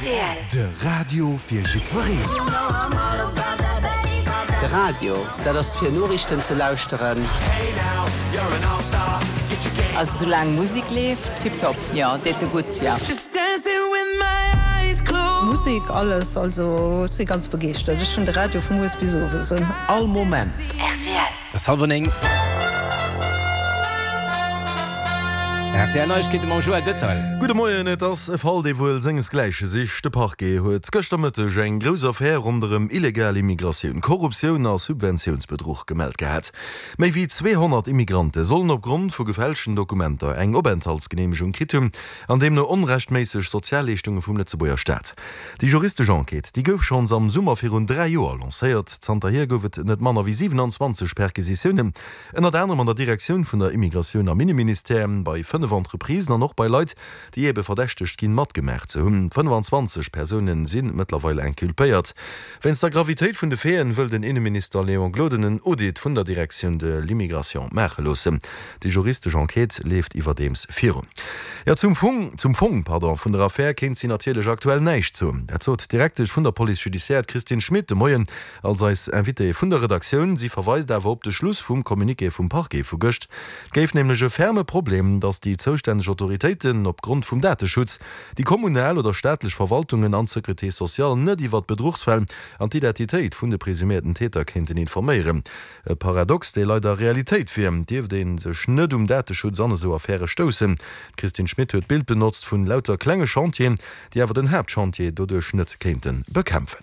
Rtl. De Radio fir jiddwereen. De Radio, dat ass fir Noriichten ze lauschteren. Also soulaang Musik leeft, tiptop, jo, deet e gutt, jo. Musik, alles, also ech si ganz begeeschtert. Ech hunn de Radio vu mueres bis owes un. All Moment. Rtl. Et ass hallwer 9. Rtl Neiegkeete mam Joël Detail. Gudde Moien, Et ass e Fall, dee wuel sengesgläiche sicht. De Parquet huet gëschter Mëtteg eng grouss Affär ronderëm illegal Immigratioun, Korruptioun a Subventiounsbedruch gemellt gehat. Méi wéi 200 Immigrante sollen opgrond vu gefälschten Dokumenter eng Openthaltsgeneemegung kritt hunn an deemno onrechtméisseg Sozialleeschtunge vum Lëtzebuerger Staat. Déi juristesch Enquête, déi gouf schonns am Summer virun 3 Joer lancéiert. Zanterhier gouf et net manner wéi 27 Perquisitiounen, ënnert anerem an der Direktioun vun der Immigratioun am Inneministère, bei 5 Entreprisen an och bei Leit, déi ebe verdächtegt ginn, matgemaach ze hunn. 25 Persoune si mëttlerweil inculpéiert. Wéinst der Gravitéit vun de Faiten wëll den Inneminister Léon Gloden en Audit vun der Direction de l'immigration maache loossen. Déi juristesch Enquête leeft iwwerdeems virun. Jo, zum Fong, zum Fong, pardon, vun der Affär kéint si natierlech aktuell näischt soen. Dat sot d'Direktesch vun der Police judiciaire, d'Christine Schmit, de Moien als eis Invitée vun der Redaktioun. Si verweist awer op de Schluss vum Communiqué vum Parquet vu gëscht. Et géif nämlech e ferme Problem, datt déi zoustänneg Autoritéiten opgrond vum Dateschutz déi kommunal oder staatlech Verwaltungen an d'Securité sociale net iwwert Bedruchsfäll an d'Identitéit vun de presumierten Täter kéinten informéieren. E Paradox, dee leider Realitéit wier, dierft ee sech net um Dateschutz an esou Affäre stoussen. D'Christine Schmit huet d'Bild benotzt vun lauter klenge Chantieren, déi awer den Haaptchantier doduerch net kéinte bekämpfen.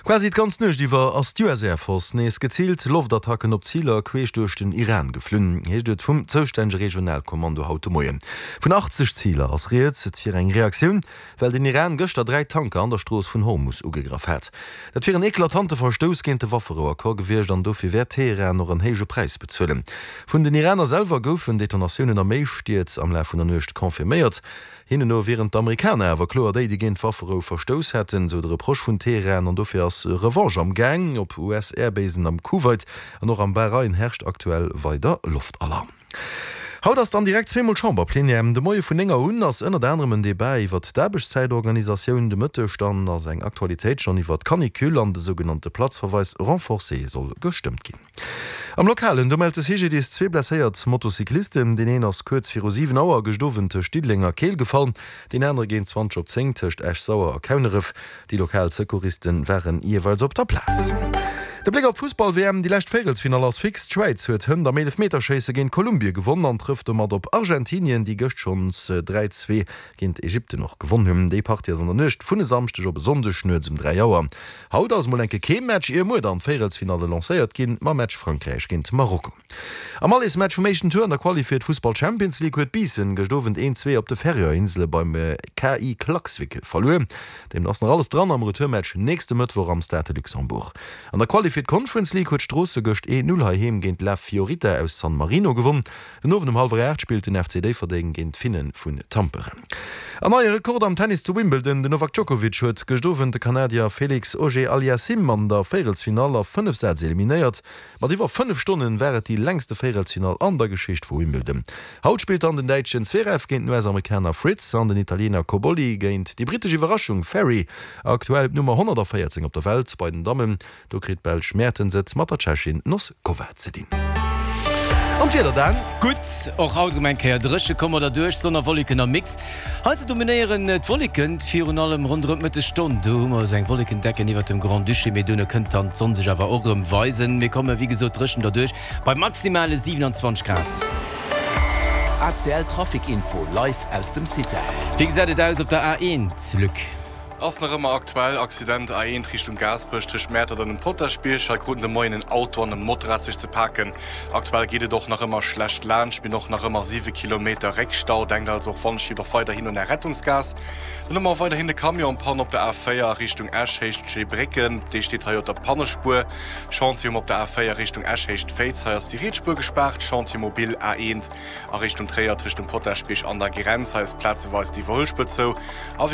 Quasi d'ganz Nuecht iwwer ass d'US Air Force nees geziilt Loftattacken op Ziler queesch duerch den Iran geflunn, heescht et vum zoustännege Regionalkommando haut de Moien. Vun 80 Ziler ass rieds. Et wier eng Reaktioun well den Iran gëschter 3 Tanker an der Strooss vun Hormus ugegraff hat. Dat wier en eklatante Verstouss géint de Wafferouaccord gewiescht an dofir wäert Teheran och en héije Präis bezuelen. Vun den Iraner selwer goufen Detonatiounen a méi Stied am Laf vun der Nuecht confirméiert. Hinnen no wieren d'Amerikaner awer kloer déi, déi géint d'Wafferou verstouss hätten, sou de Reproche vun Teheran an dofir ass Revanche am Gaang. Op US-Airbasen am Kuwait an och am Bahrain herrscht aktuell weider Loftalarm. Haut ass dann direkt zweemol Chamberplenière. De Moie vun 9 Auer un ass ënnert anerem en Debat iwwert d'Aarbechtszäitorganisatioun. De Mëtteg dann ass eng Aktualitéit schonn iwwert d'Canicule an de sougenannte Platzverweis renforcé soll gestëmmt ginn. Am Lokalen, do mellt de CGDIS zwee blesséiert Motocyclisten. Deen een ass kuerz viru 7 Auer gëscht Owend tëscht Diddeleng a Keel gefall, deen anere géint 20 op 10 tëscht Esch-Sauer a Kauneref. Déi lokal Secouristen waren jeeweils op der Plaz. De Bléck op d'Fussball-WM, Déi lescht Véierelsfinall ass fix. D'Schwäiz huet hënt am Eelefmeterschéisse géint Kolumbie gewonn an trëfft domat op Argentinien, déi gëscht schonns 3, 2 géint Ägypten och gewonn hunn. Déi Partie ass an der Nuecht vun e Samschdeg op e Sonndeg nuets um 3 Auer. Haut ass mol enke kee Match, ier muer dann d'Véierelsfinalle lancéiert ginn mam Match Frankräich géint Marokko. Am Allesmatch vum éischten Tour an der Quali fir d'Fussball Champions League huet Biissen gëscht Owend 1, 2 op de Färöerinsele beim KI Klaksvik verluer. Deemno ass nach alles dran am Retourmatch nächste Mëttwoch am Stade de Luxembourg. An der Quali fir d'Conference League huet Stroosse gëscht 1, 0 heiheem géint La Fiorita aus San Marino gewonn. Den Owend um hallwer 8 spillt den FC Déifferdeng géint d'Finne vun Tampere. An neie Rekord am Tennis zu Wimbledon, Den Novak Djokovic huet gëscht Owend de Kanadier Felix Auger-Aliassime an der Véierelsfinall a 5 Sätz eliminéiert. Mat iwwer 5 Stonnen war et déi längste Véierelsfinall an der Geschicht vu Wimbledon. Haut spillt dann den Däitschen Zverev géint den US-Amerikaner Fritz an den Italiener Cobolli géint déi brittesch Iwwerraschung Ferry, aktuell d'Nummer 114 op der Welt. Bei den Dammen, do kritt d'Belsch Mertens et mat der Tschechin Noskova ze dinn. An d'Wieder dann? Gutt, och haut erëm eng Kéier dréche komm oder duerch Sonn a Wolleken am Mix. Hei ze dominéieren d'Wolleken, virun allem ronderëm d'Mëttesstonn. Do hu mer esou eng Wollekendecken iwwert dem Grand-Duché, mee duerno kënnt dann d'Sonn sech awer och erëm weisen. Mir komme wéi gesot dréchen derduerch bei maximale 27 Grad. ACL Trafic Info live aus dem CITEL. Wéi gesäit et aus op der A1, Luc? Ass nach ëmmer aktuell, Accident A1 Richtung Gaasperech tëscht Mäertert an dem Potaschbierg. Hei kruten de Moien en Auto an e Motorrad sech ze paken. Aktuell geet et och nach ëmmer schlecht laanscht, mir hunn och nach ëmmer 7 Kilometer Réckstau. Denkt also och wann och weiderhin un Är Rettungsgaass. Dann hu mer och weiderhin de Camion en panne op der A4 a Richtung Esch, Héicht Scheebrécken. Dee steet hei op der Pannespuer. Chantier um op der A4 Richtung Esch, Héicht Féiz. Hei ass déi riets Spuer gespaart. Chantier mobile A1 a Richtung Tréier tëscht dem Potaschbierg an der Grenz. Hei ass plazeweis déi Iwwerhuelspuer zou. A wéi.